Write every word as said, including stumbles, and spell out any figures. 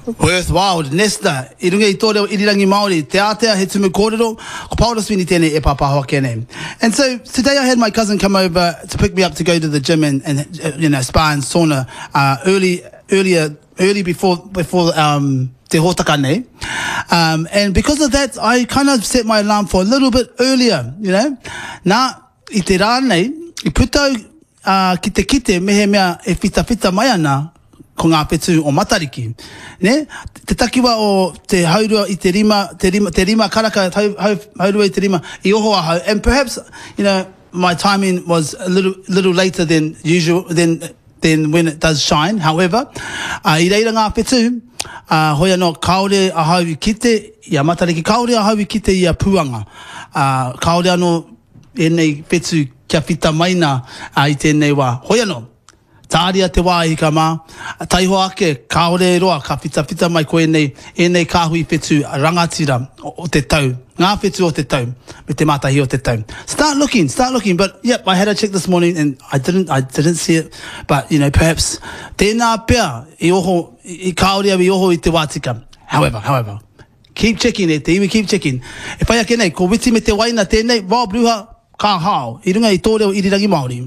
Worthwhile, Nesta, i runga i tō reo irirangi Māori, te ātea he tumu kōrero, ko Paora Sweeney tēnei e pāpāho ake nei. And so today I had my cousin come over to pick me up to go to the gym and, and uh, you know, spa and sauna uh, early, earlier, early before, before um, te hōtaka nei. Um, and because of that, I kind of set my alarm for a little bit earlier, you know. Nā, i te rā nei, i puta au uh, ki te kite mehemea e whitawhita mai ana ko ngā whetū o Matariki. Ne? Te takiwa o te haurua i te rima, te rima, te rima karaka, hau, hau, haurua i te rima, i oho ahau. And perhaps, you know, my timing was a little, little later than usual, than, than when it does shine. However, uh, i reira ngā whetū, uh, hoi anō, kāore ahau i kite i a Matariki, kāore ahau i kite i a Puanga. Uh, kāore anō ēnei whetū kia whita mai nā uh, i tēnei wā. Hoi anō, tāria te wā e hika mā, taihoa ake, kāore e roa, ka whitawhita mai ko ēnei, ēnei kāhui whetū rangatira o, o te tau, ngā whetū o te tau, me te mātahi o te tau. Start looking, start looking, but yep, I had a check this morning and I didn't, I didn't see it, but you know, perhaps, tēnā pea, i oho, i, i kāore au i oho i te wā tika. However, however, keep checking e te iwi, keep checking. E whai ake nei, ko Witi me te Waina tēnei, Rob Ruha, ka hao, i runga i tō reo irirangi Māori.